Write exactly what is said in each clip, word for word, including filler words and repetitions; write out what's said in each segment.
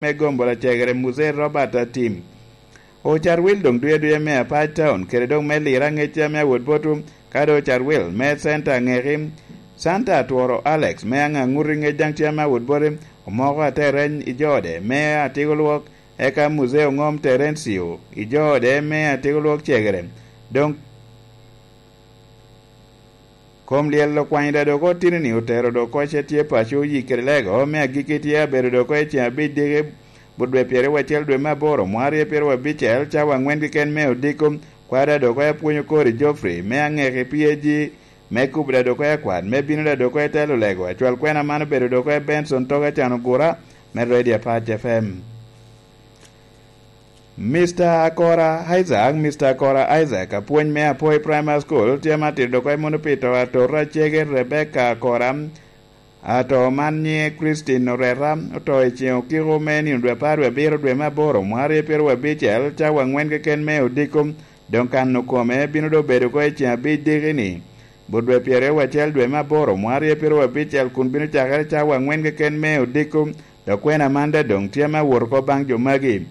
me gombo lacegere Muzee Robert Atim. Ocar Wil doŋ duya duya me Apac Town kede doŋ me Lira ŋecca me awot botu, kadi Ocar Wil me Center Aŋeki, Santa Atworo Alex me Aŋaŋuti ŋec daŋ tye ame awot bote, omoko Atereny i jo ode me Atiko Lwok, eka Muzee Oŋom Terencio i jo ode me Atiko Lwok cegere. Doŋ kom lyel okwanyo da dok otino-ni otero dok oko ce tye paco oyi kede lego me agikki tye abedo dok oko i ceng abic diki but dwe pyeraryo wacel dwe me aboro mwaka aryo pyeraryo abicel cawa aŋwen keken me odiko. Kwada dok oko apwonyo kori Geoffrey me aŋeki P A G me kubo da dok oko akwat me bino da dok oko i telo lego acwal kwena man obedo dok oko Benson Toga Can Ogura me Radio Apac F M. Mister Akora Isaac, Mister Akora Isaac, apwony me Apoi Primary School, tye ma tito dok oko i Munupito, atora cege Rebecca Akora, ato man nyiŋe Christine Oreta, oto i ceŋ okiko me nino dwe apar wie abiro dwe me aboro mwaka aryo pyeraryo abicel, cawa aŋwen keken me odiko, doŋ kano kome bino doŋ bedo oko i ceŋ abic diki-ni, but dwe pyeraryo wacel dwe me aboro mwaka aryo pyeraryo abicel kun bino cakere cawa aŋwen keken me odiko, dok kwena man da doŋ tye ame awot oko baŋ jo magi.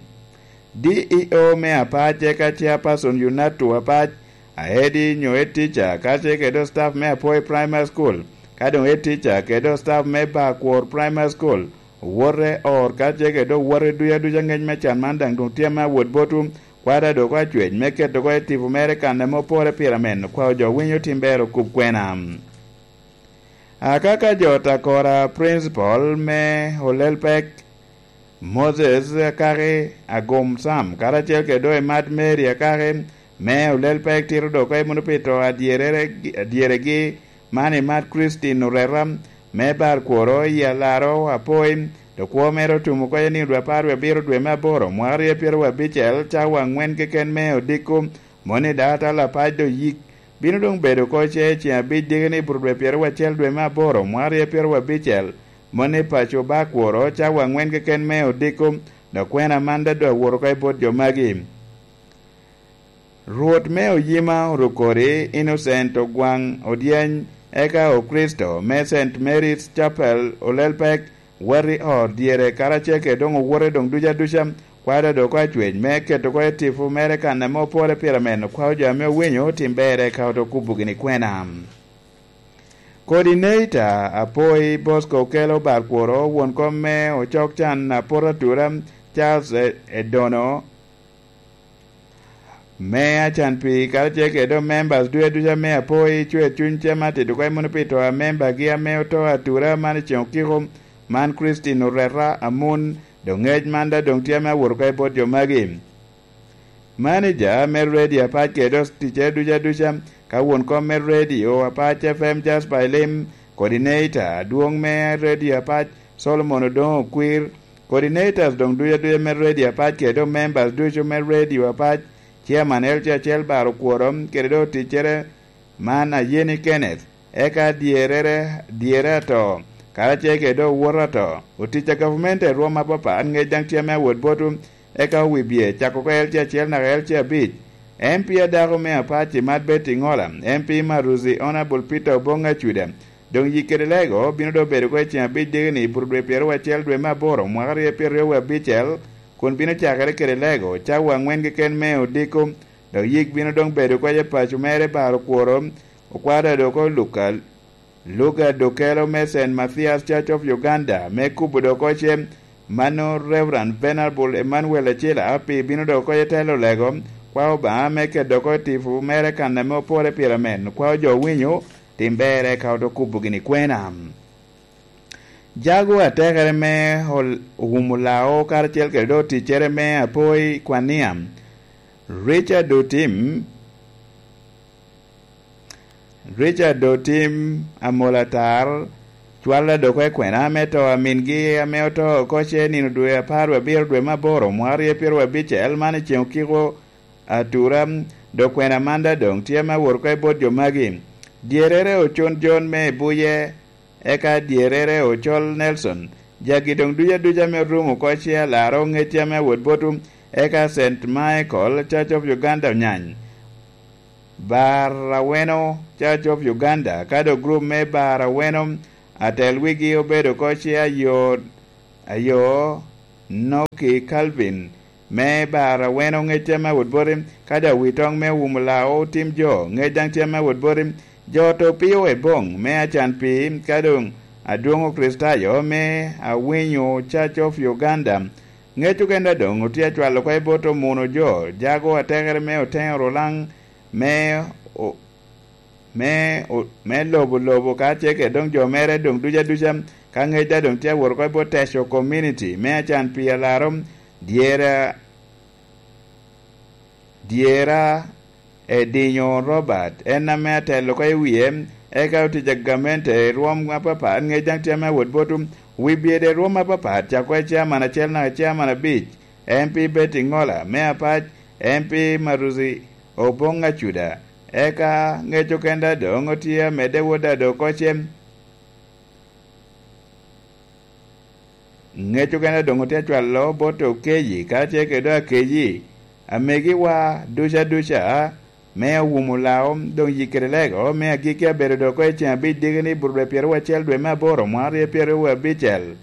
D E O me Apac eka Chairperson Yunato Apac, aedi nyo head teacher ka tye kede staff me Apoi Primary School, ka doŋ head teacher kede staff me Bakwor Primary School, owote or ka tye kede owote duca duca ŋec me can man daŋ doŋ tye ame awot botu, kwada dok acwec me keto oko i tipo mere kan ame opore pire men, kwao jo winyo tim ber okub kwena. Akaka jo Takora Principal me Olelpek, Moses Akaki Agum Sam, karacel kede doŋ i Mad Mary Akaki me Olelpek tito dok oko i Munupito adyerere-, adyeregi man i Mad Christine Oreta me Barkworo i Alaro Apoi, dok kwo mere otum oko i nino dwe apar wie abiro dwe me aboro mwaka aryo pyeraryo abicel cawa aŋwen keken me odiko, moni data lapac do yik bino doŋ bedo oko ce i ceŋ abic diki-ni but dwe pyeraryo acel dwe me aboro mwaka aryo pyeraryo abicel, moni paco Bakworo cawa aŋwen keken me odiko, dok kwena man da doŋ awot oko i bot jo magi. Rwot me Oyima Orukodi Innocent Ogwaŋ Odyeny, eka Okricito me Saint Mary's Chapel Olelpek, wot i ot dyere karacel kede doŋ owote doŋ duca duca, kwada dok oko acwec me keto oko i tipo mere kan ame opore pire men, okwao jo ame owinyo tim berre ka oto kubo gini kwena. Coordinator Apoi Bosco Okelo Barkworo, won kom me Ocok Can Apot Atura Charles E-, Edono, me Acan Pii, karacel kede doŋ members duca duca me Apoi, Cwer Cuny Cem Atito, ka imuno pi to a membagi ame oto atura man i ceŋ okiko, man Christine Oreta Amun, doŋ ŋec man da doŋ tye ame awot oko i bot jo magi. Manager me radio Apac kede doŋ ticcere duca duca, ka won kom me radio Apac F M Jasper Elim, coordinator adwoŋ me radio Apac Solomon Odoŋo Okwir, coordinators doŋ duca duca me radio Apac kede doŋ members ducu me radio Apac, chairman L C acel Bar Okworo, kede doŋ ticcere man Ayeni Kenneth, eka dyerere, dyere ato, karacel kede doŋ owoto ato. Otic a gavumenti i rwom apapat ŋec daŋ tye ame awot botu, eka owibye cako oko L C acel naka L C abic. M P adako me Apac i Mad Betty Ŋola, M P Maruzi Honourable Peter Oboŋ Acuda, doŋ yik kede lego bino doŋ bedo oko i ceŋ abic diki-ni i buto dwe pyeraryo acel dwe me aboro mwaka aryo pyeraryo abicel, kun bino cakere kede lego cawa aŋwen keken me odiko, dok yik bino doŋ bedo oko i paco mere Bar Okworo, okwada dok oluka Luga Dokelo me Saint Mathias Church of Uganda me kubo dok oko ce, mano Reverend Venerable Emmanuel Acila Api bino dok oko i telo lego, kwao Obaŋa me keto dok oko tipo mere kan ame opore pire amen, kwao jo winyo tim berre ka oto kubo gini kwena. Jago atekere me ol-, Ogumo Lao karacel kede doŋ ticcere me Apoi Kwania, Richard Otim, Richard Otim Amol Atar, cwal adoko i kwena me to a mingi ame oto oko ce nino dwe apar wie abiro dwe me aboro mwaka aryo pyeraryo abicel man i ceŋ okiko atura, dok kwena man da doŋ tye ame awot oko i bot jo magi. Dyerere Ocon Jon me Ibuye, eka dyerere Ocol Nelson, jagi doŋ duca duca ame orumo oko ce alarre oŋecce ame awot botu, eka Saint Michael Church of Uganda Onyany. Bar Aweno Church of Uganda, ka doŋ gurup me Bar Aweno, atel wigi obedo oko ce ayo, ayo, Noki Calvin, me bar aweno ŋec tye me awot boti, ka daŋ wi toŋ me wumo lao otim jo, ŋec daŋ tye me awot boti. Jo to pio Ebong, me Acan Pii, ka doŋ adwoŋ Okricitayo, me Awinyo Church of Uganda. Ŋec okene doŋ otye acwalo oko i bot omuno jo, jago atekere me Oteŋo Rulaŋ, me o-, me o-, me lobo lobo ka tye kede doŋ jo mere doŋ duca duca, ka ŋec daŋ doŋ tye awot oko i bot Teco Community, me Acan Pii Alaro, dyera, dyera Edinyo Robert, en ame atelo oko i wie, eka otic a gamente i rwom apapat, ŋec daŋ tye ame awot bot wi byede i rwom apapat, cako i chairman acel naka chairman abic, M P Betty Ŋola, me Apac, M P Maruzi Obong Acuda, eka ŋec okene doŋ otye amedde wot ado oko cem. Ŋec okene doŋ otye acwalo bot Okeyi, ka tye kede Akeyi, amegiwa duca duca, me Owumo Lao, doŋ Yikere Lego, me agikki abedo doŋ oko i ceŋ abic diki ni Burudwe pyeraryo acel dwe me aboro, mwaka aryo pyeraryo abicel.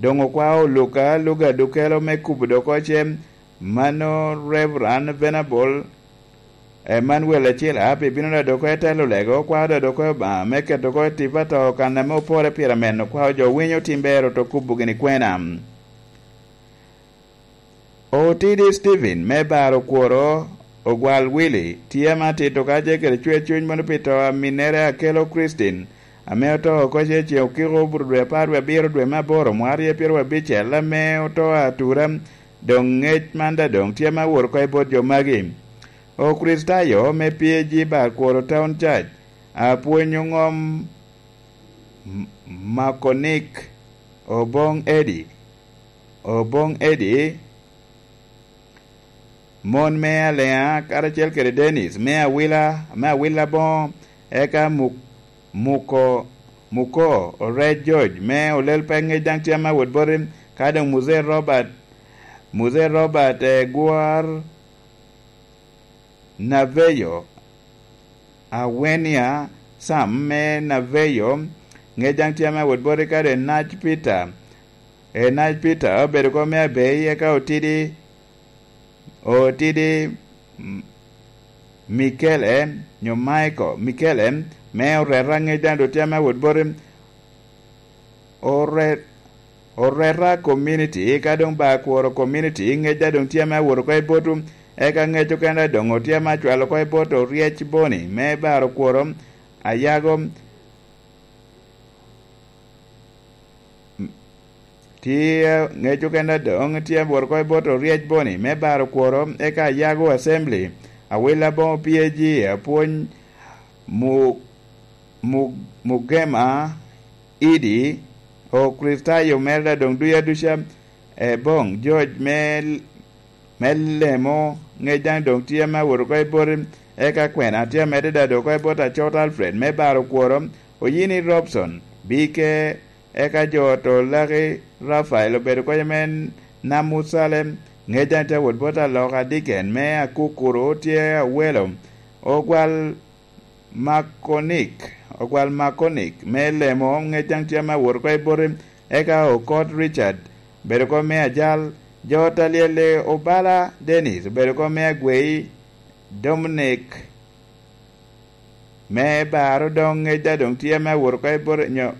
Doŋ okwao Luka, Luka Dukelo me kubo doŋ oko cem, mano Reverend Venerable Emmanuel Acila, pi bino daŋ doŋ oko i telo lego, okwao daŋ doŋ oko i Obaŋa, me keto oko i tipo ato kan ame opore pire meno, okwao jo winyo tim ber oto kubo gini kwena. Otidi Stephen me Bar Okworo, Ogwal Willy, tye ame atito ka tye kede cwer cuny mono pi to a minnere Akelo Christine, ame oto oko ce ceŋ okiko Burudwe apar wie abiro dwe me aboro mwaka aryo pyeraryo abicel, ame oto atura, doŋ ŋec man daŋ doŋ tye ame awot oko i bot jo magi. Okricitayo me P A G Bar Kworo Town Church, apwonyo ŋom M-, Makonik, Oboŋ Eddie, Oboŋ Eddie, mon me Aleŋa, karacel kede Dennis, me Awila, me Awila Boŋo, eka Muk-, Muko, Muko, Orec George, me Olel Pek ŋec daŋ tye ame awot boti, ka doŋ Muzee Robert, Muzee Robert, eh, Gwar, Naveyo, Awenia Sam me Naveyo, ŋec daŋ tye ame awot boti, ka doŋ Enac Peter, Enac Peter obedo kop me Abei, eka Otidi, Otidi M-, Mikele, nyo Michael Mikele, me Oreta, ŋec daŋ doŋ tye ame awot boti, Ore-, Oreta Community, ka doŋ Bar Kworo Community, ŋec daŋ doŋ tye ame awot oko i bot, eka ŋec okene doŋ otye ame acwalo oko i bot Oryec Boni, me Bar Okworo, Ayago, m-, tye ŋec okene doŋ tye awot oko i bot Oryec Boni, me Bar Okworo, eka Ayago Assembly, Awila Boŋo P A G, apwony Mu-, Mu-, Mugema, Idi, Okricitayo mere daŋ doŋ duca duca, Eboŋ George me, me Lemo, ŋec daŋ doŋ tye ame awot oko i boti, eka kwena tye amedde daŋ doŋ oko i bot Acot Alfred me Bar Okworo, Oyini Robson, Bike, eka jo to Laki Rafael obedo kec ame Namucalem, ŋec daŋ tye awot bot Aloka Diken me Akukuru tye Awelo, Ogwal Makonik, Ogwal Makonik me Lemo, ŋec daŋ tye ame awot oko i boti, eka Okot Richard, bedo oko me Ajal, jo Talyele Obala Dennis, obedo oko me Agwei, Dominic, me Bar Odoŋ, ŋec daŋ doŋ tye ame awot oko i boti, nyo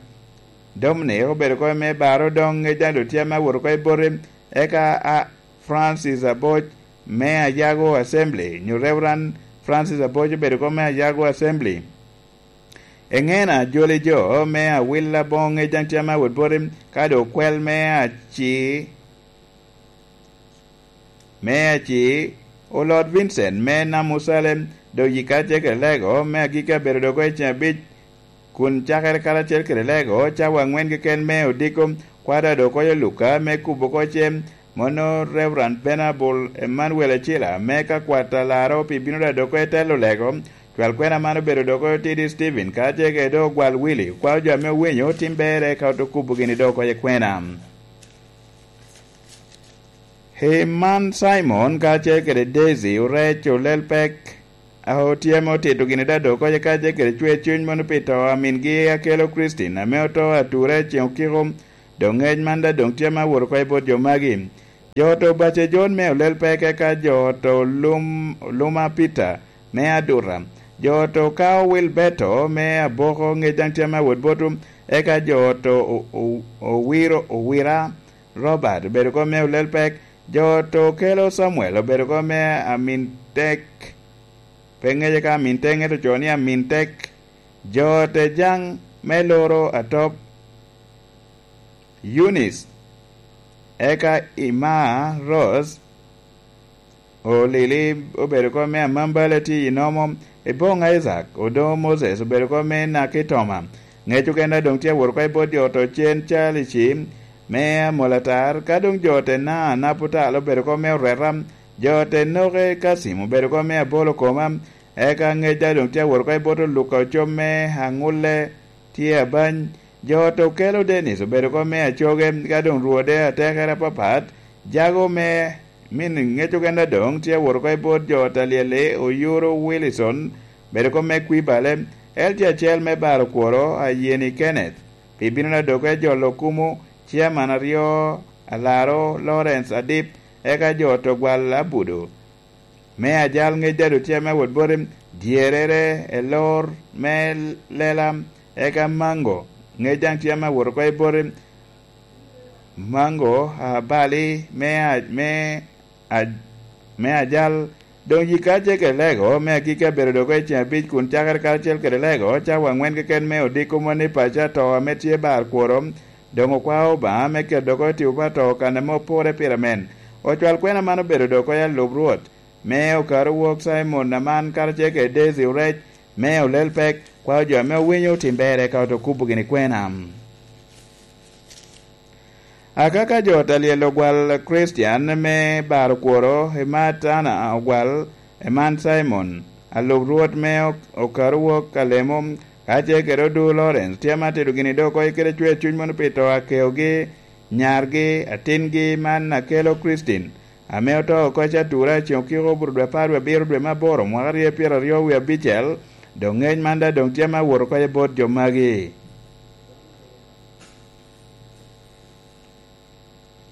Dominic obedo oko me Bar Odoŋ, ŋec daŋ doŋ tye ame awot oko i boti, eka a Francis Aboc, me Ayago Assembly, nyo Reverend Francis Aboc obedo oko me Ayago Assembly. Eŋena joli jo me Awila Boŋo, ŋec daŋ tye ame awot boti, ka doŋ okwel me Aci, me Aci, Olot Vincent me Namucalem, doŋ yika tye kede lego me agikki abedo doŋ oko i ceŋ abic, kun cakere karacel kede lego cawa aŋwen keken me odiko, kwada doŋ oko i Luka me kubo oko cem, mono Reverend Venerable Emmanuel Acila me ka kwat Alaro pi bino daŋ doŋ oko i telo lego, cwal kwena man obedo doŋ oko Otidi Stephen, ka tye kede doŋ Ogwal Willy, okwao jo ame owinyo otim berre ka oto kubo gini doŋ oko i kwena. Heman Simon kacel kede Daisy Orec Olel Pek, a otye ame otito gini daŋ doŋ oko kacel kede cwer cuny mono pi to a mingi Akelo Christine ame oto ature i ceŋ okiko Doŋ ŋec man daŋ doŋ tye ame awot oko i bot jo magi. Jo oto Bace Jon me Olel Pek, eka jo oto Lum-, Luma Peter me Aduta. Jo oto Kao Wilberto me Aboko, ŋec daŋ tye ame awot botwu, eka jo oto O-, O-, Owiro, Owira Robert obedo oko me Olel Pek. Jo oto Kelo Samuel obedo oko me Amin Tek, pe ŋece ka Amin Tek, ento ocoo ni Amin Tek. Jo ote Jaŋ me Loro Atop, Eunice, eka Ima Rose, Olili obedo oko me Amambala tye i Nomo, Iboŋ Isaac, Odoŋo Moses obedo oko me Nakitoma. Ŋec okene doŋ tye awot oko i bot jo oto Cen Calici me Amolatar, ka doŋ jo ote Na Naputal obedo oko me Oreta, jo ote Noke Kasim obedo oko me Abolo Koma, eka ŋec daŋ doŋ tye awot oko i bot Oluka Ocom me Aŋulle tye Abany. Jo oto Kelo Dennis obedo oko me Acoge, ka doŋ rwode atekere apapat, jago me min ŋec okene doŋ tye awot oko i bot jo oto Alyel-li, Oyuro Wilson obedo oko me Kwibale, L T acel me Baro Kworo, Ayeni Kenneth, pi bino na doge jolo kumo, Chairman aryo, Alaro Lawrence Adip, eka jo oto Gwal Abudo. Me Ajal ŋec daŋ tye ame awot boti, dyerere, Elor me Lela, eka Mango ŋec daŋ tye ame awot oko i boti, Mango, Abali me A-, me A-, me Ajal. Doŋ yika ce kede Lego me agikki abedo doŋ oko i ceŋ abic kun cakere karacel kede Lego, cawa aŋwen keken me odiko moni paco ato ame tye bar kworo, doŋ okwao Obaŋa me keto doŋ oko i tipo pa to kan ame opore pire men. Ocwal kwena man obedo doŋ oko i alub Rwot, me okaru wok Cimon Aman karacel kede Daisy Orec, me Olel Pek, kwao jo ame owinyo otim ber eka oto kubo gini kwena. Akaka jo oto Alyel Ogwal Christian me Baro Kworo, Emat Ana Ogwal, Eman Cimon, alub Rwot me ok-, okaru wok Alemo, karacel kede Odu Lawrence, tye ame atito gini doŋ oko i kede cwer cuny mono pi to akeogi, nyargi, atingi man Akelo Christine, ame oto oko i Catura i ceŋ okiko obuto dwe apar wie abiro dwe me aboro mwaka aryo pyeraryo wie abicel, doŋ ŋec man daŋ doŋ tye ame awot oko i bot jo magi.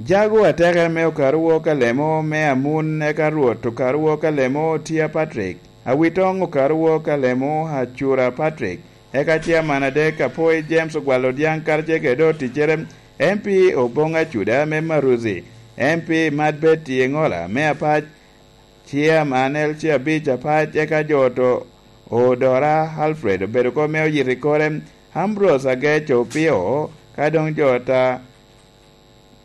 Jago atekere me okaru wok Alemo me Amun, eka Rwot okaru wok Alemo Tia Patrick, Awitoŋ okaru wok Alemo Acura Patrick, eka Chairman adek Apoi James Ogwal Odiaŋ karacel kede doŋ oticcere, M P Oboŋ Acuda me Maruzi, M P Mad Betty Eŋola me Apac, Chairman L C abic Apac, eka jo oto Odora Alfred obedo oko me oyito i kore, Ambrose Agec Opio, ka doŋ jo ata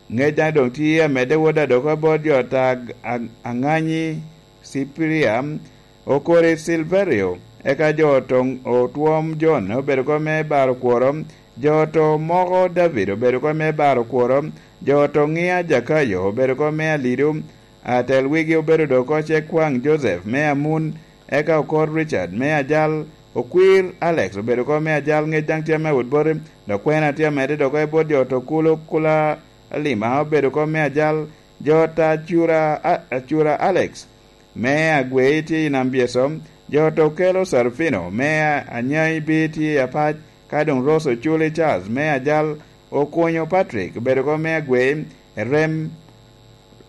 ŋec daŋ doŋ tye amedde wot adoko bot jo ata Ag-, Ag-, Aŋanyi Ciprian, Okori Silverio, eka jo oto Otwom John obedo oko me baro kworo, jo oto Moko David obedo oko me baro kworo, jo oto Ŋia Jakayo obedo oko me alido, atel wigi obedo doŋ oko Cekwaŋ Joseph me Amun, eka Okor Richard me Ajal, Okwir Alex obedo oko me Ajal ŋec daŋ tye ame awot boti, dok kwena tye amedde doŋ oko i bot jo oto Kulo Kula Alima obedo oko me Ajal, jo oto Acura, A-, Acura Alex me Agwei tye i Nam Byeso, jo oto Kelo Sarufino me A-, Anyai B tye i Apac, ka doŋ Rose Oculi Charles me Ajal, Okunyo Patrick obedo oko me Agwei, Erem,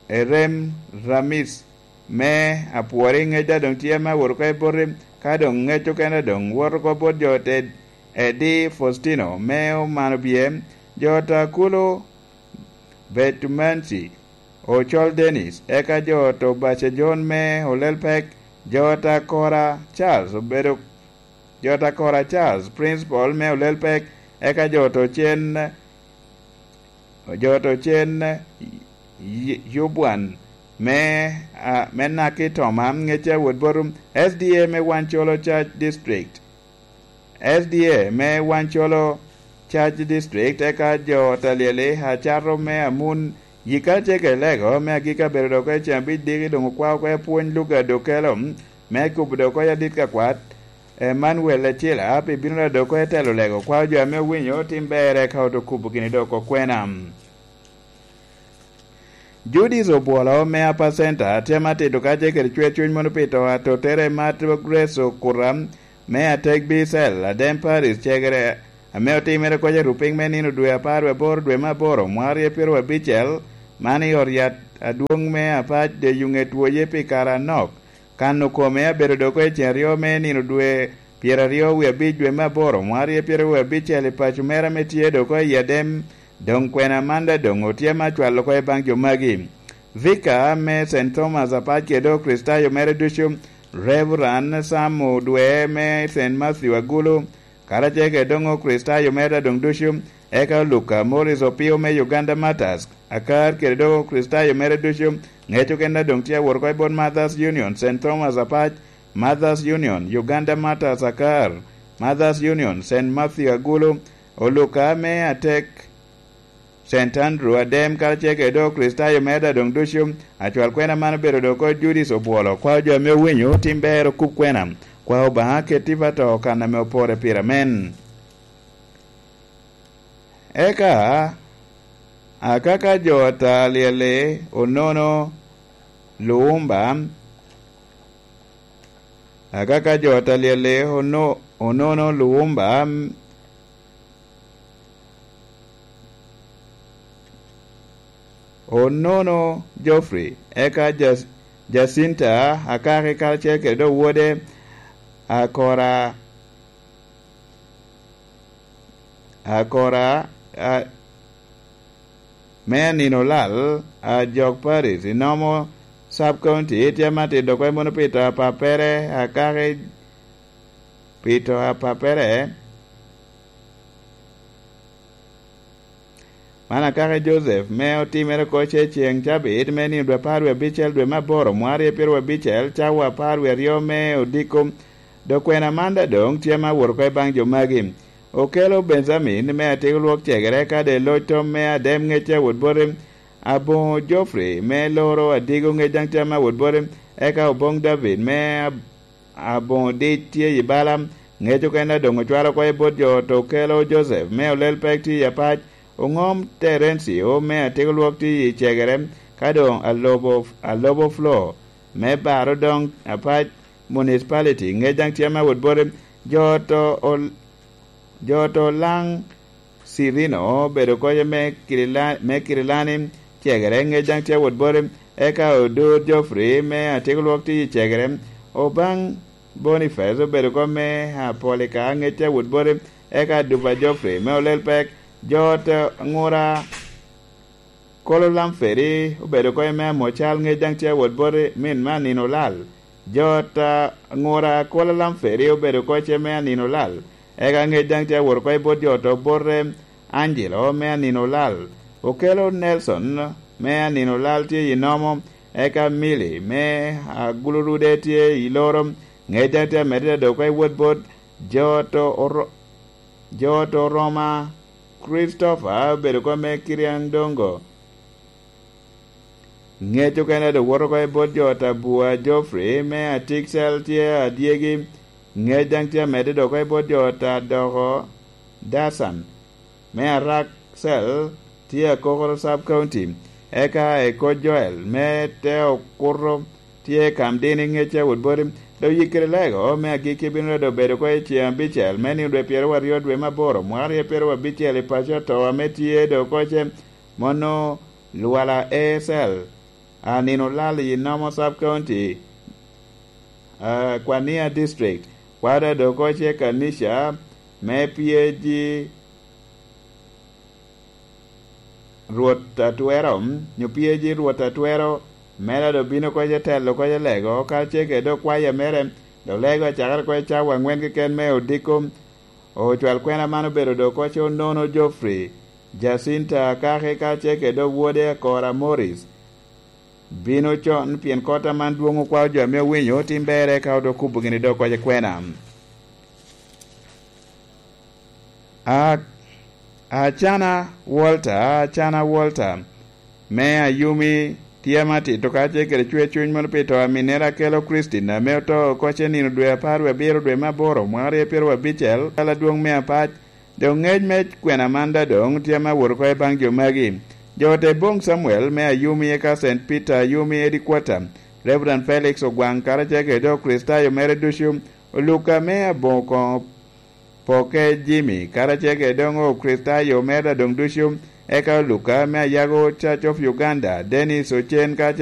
Erem Ramis me Apwori ŋec daŋ doŋ tye ame awot oko i boti, ka doŋ ŋec okene doŋ wot oko bot jo oto Edi Faustino me Omano Bye, jo oto Kulo Betumanci, Ocol Dennis, eka jo oto Baca John me Olel Pek, jo oto Akora Charles obedo, jo oto Akora Charles, Principal me Olel Pek, eka jo oto Cen, jo oto Cen Y-, Yubwan me, a, me Naki Toma, ŋec awot boti, S D A me Wancolo Church District. S D A me Wancolo Church District, eka jo oto Alyel-li, Acato me Amun, yika ce kede Lego me agikki abedo doŋ oko i ceŋ abic diki doŋ okwao oko i apwony Lugard Okelo, me kubo doŋ oko i adit ka kwat, Emmanuel Acila, pi bino doŋ oko i telo Lego, kwao jo ame owinyo otim ber eka oto kubo gini doŋ oko kwena. Judith Obwolo me Upper Center tye ame atito kacel kede cwer cuny mono pi to atotere Mat Grace Okuta me Atek Bicel, Adem Paris, cegere ame otimere kocca i rupiny me nino dwe apar wie aboro dwe me aboro mwaka aryo pyeraryo abicel, man i ot yat adwoŋ me Apac de Yuŋet Woye pi kare anok. Kan okome abedo dok i cen aryo me nino dwe pyeraryo wie abic dwe me aboro mwaka aryo pyeraryo wie abicel i paco mere ame tye dok i Adem. Doŋ kwena man daŋ doŋ otye ame acwalo oko i baŋ jo magi. Vika me Saint Thomas Apac kede Okricitayo mere ducu, Reverend Sam Odwe me Saint Matthew Agulu, karacel kede doŋ Okricitayo mere doŋ ducu, eka Luka Morris Opio me Uganda Martyrs, Akar kede doŋ Okricitayo mere ducu, ŋec okene doŋ tye awot oko i bot Mothers Union, Saint Thomas Apac, Mothers Union, Uganda Martyrs Akar, Mothers Union, Saint Matthew Agulu, Oluka me Atek, Saint Andrew Adem, karacel kede doŋ Okricitayo mere doŋ ducu. Acwal kwena man obedo doŋ oko Judith Obwolo, kwao jo ame owinyo tim ber okub kwena, kwao Obaŋa ket i pato kan ame opore pire amen. Eka akaka jo ata lyel-li onono luwumba, akaka jo ata lyel-li ono-, onono luwumba, onono Geoffrey, eka Ja-, Jacinta Akaki karacel kede doŋ wode Akora, Akora, a, me anino lal, a, Jok Paris, i Nomo Sub County, tye ame atito kwe mono pi to a pappere, Akaki pi to a pappere. Man Akaki Joseph, me otimere oko ce ceŋ cabit me nino dwe apar wie abicel dwe me aboro mwaka aryo pyeraryo abicel, cawa apar wie aryo me odiko. Dok kwena man daŋ doŋ tye ame awot oko i baŋ jo magi. Okelo Benjamin me atiko lwok cegere, ka de loc tom me Adem ŋecce awot bote, aboŋo Geoffrey me loro adigo ŋec daŋ tye ame awot bote, eka oboŋ David me ab-, aboŋo dic tye i bala, ŋec okene doŋ ocwalo oko i bot jo ot. Okelo Joseph me olel pek tye i Apac, oŋom Terencio me atiko lwok tye i cegere, ka doŋ alobo, alobo Flo me baro doŋ Apac Municipality, ŋec daŋ tye ame awot bote. Jo ot o-, jo ot Olaŋ Cirino obedo oko me Kirila-, me Kirilani cegere, ŋec daŋ tye awot bote. Eka Odor Geoffrey me atiko lwok tye i cegere. Obaŋ Boniface obedo oko me Apolika, ŋec tye awot bote. Eka Dupa Geoffrey me olel pek. Jo ot Ŋura Kolo Lamferi obedo oko i me Amocal, ŋec daŋ tye awot boti min me anino olal. Jo ot a Ŋura Kolo Lamferi obedo oko ce me anino olal. Eka ŋec daŋ tye awot oko i bot jo ot Obote Angelo me anino olal. Okelo Nelson me anino olal tye i Nomo, eka Mili me Agulurude tye i Loro. Ŋec daŋ tye amedde dok oko i wot bot jo ot Oro-, jo ot Oroma Christopher obedo oko me Kiriandongo. Ŋec okene dok woto oko i bot jo ot Abua Geoffrey me Atikcel tye adyegi. Ŋec daŋ tye amedde dok oko i bot jo ot Adoko Dasan me Arakcel tye Akokoro Sub County. Eka Eko Joel me te Okuto tye Kamdini ŋec awot boti. Dok Yikiri Lego me agikki bino dodo bedo oko i ceŋ abicel me nino dwe pyeraryo aryo dwe me aboro mwaka aryo pyeraryo abicel i paco ato ame tye dok oko ce. Mono Lwala A S L, a nino olal i Nomo Sub County, a, Kwania District, kwada dok oko ce Kanisha me P A G Rwot Atwero, nyo P A G Rwot Atwero, mere a doŋ bino oko ce telo oko ce Lego, ka ce kede okwaya mere, dok Lego acakere oko i cawa aŋwen keken me odiko. Ocwal kwena man obedo dok oko ce Onono Geoffrey, Jacinta Akaki, ka ce kede owode Akora Morris. Bino con, pien kot aman dwoŋ okwao jo ame owinyo otim berre, ka odok kubo gini dok oko ce kwena. A-, Acana Walter, Acana Walter, me Ayumi, tye ame atito ka ce kede cwer cuny mono pi to a minnere Akelo Christine, ame oto oko ce nino dwe apar wie abiro dwe me aboro mwaka aryo pyeraryo abicel, kala adwoŋ me Apac. Doŋ ŋec me kwena man daŋ doŋ tye ame awot oko i baŋ jo magi. Jo ot Eboŋ Samuel me Ayumi, eka Saint Peter Ayumi Headquarter, Reverend Felix Ogwaŋ, karacel kede jo Kricitayo mere ducu, Oluka me Aboŋo Koŋo Poke Jimmy, karacel kede doŋ Okricitayo mere doŋ ducu, eka Luka me Ayago Church of Uganda, Dennis Ocen, kacel